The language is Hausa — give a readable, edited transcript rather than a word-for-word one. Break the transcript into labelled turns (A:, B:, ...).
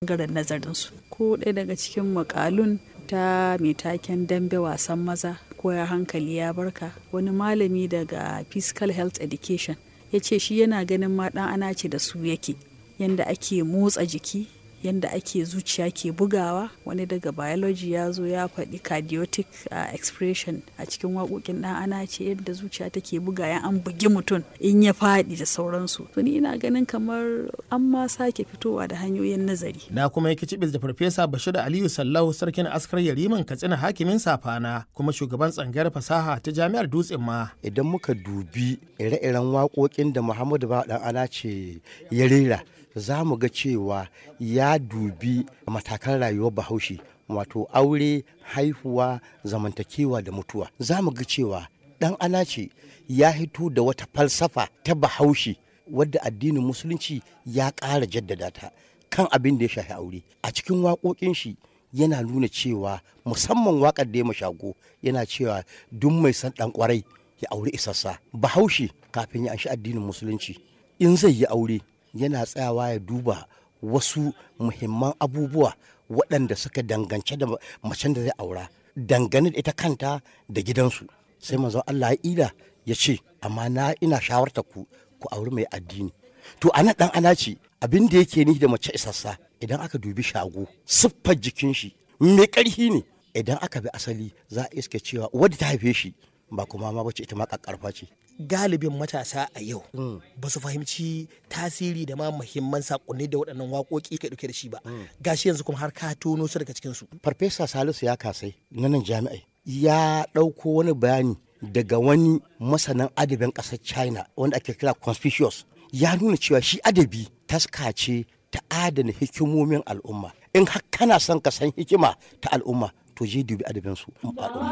A: Bangaren nazarinsu. Ko ɗaya daga cikin makalun ta mai taken "Dambe wasan maza ko ya hankali ya barka", wani malami daga Physical Health Education ya ce shi yana ganin ma ɗan anace da su yake, yanda ake motsa jiki, yanda ake zuciya ke bugawa. Wani daga biology ya zo ya faɗi cardiotic expression a cikin waƙoƙin ɗan anace, yadda zuciya take bugawa an bugi mutum in ya faɗi da sauransu. To ni ina ganin kamar an ma sake fitowa da hanyoyin nazari.
B: Na kuma yi kicibis da Farfesa Bashir Aliyu Sallau, sarkin askar Yariman Katsina, hakimin Safana, kuma shugaban tsangayar fasaha ta Jami'ar Dutsen Ma.
C: Idan muka dubi ire-iren waƙoƙin da Muhammadu Bawa Ɗan Anace ya rera, za mu ga cewa ya dubi matakan rayuwar Bahaushe, wato aure, haihuwa, zamantakewa da mutuwa. Za mu ga cewa Ɗan Anace ya hito da wata falsafa ta Bahaushe wadda addinin Musulunci ya ƙara jaddada ta kan abin da ya shafi aure. A cikin waƙoƙin shi yana nuna cewa, musamman waƙar da ya Shago, yana cewa duk mai son ɗan ƙwarai ya auri isassa. Bahaushe kafin ya anshi addinin Musulunci, in zai yi aure yana tsayawa ya duba wasu muhimman abubuwa waɗanda suka dangance da macen da zai aura, dangane da ita kanta da gidansu. Sai Manzon Allah ya ila ya ce, amma na ina shawartar ku ku auri mai addini. To ana ɗan Anace abin da yake ni da mace isassa, idan aka dubi Shago, siffar jikin shi mai ƙarfi ne. Idan aka bi asali, za a iske cewa wadda ta haife shi ba kuma ma bace, ita ma ƙaƙƙarfa ce.
D: Galibin matasa a yau ba su fahimci tasiri da ma muhimman sakonni da waɗannan waƙoƙi ke ɗauke da shi ba. Gashi yanzu kuma har ka tono su daga cikin su.
C: Farfesa Salisu ya kasai na nan jami'ai ya ɗauko wani bayani daga wani masanin adabin ƙasar China wanda ake kira Confucius. Ya nuna cewa shi adabi taska ce ta adana hikimomin al'umma. In har kana son ka san hikima ta al'umma, to je dubi adabinsu.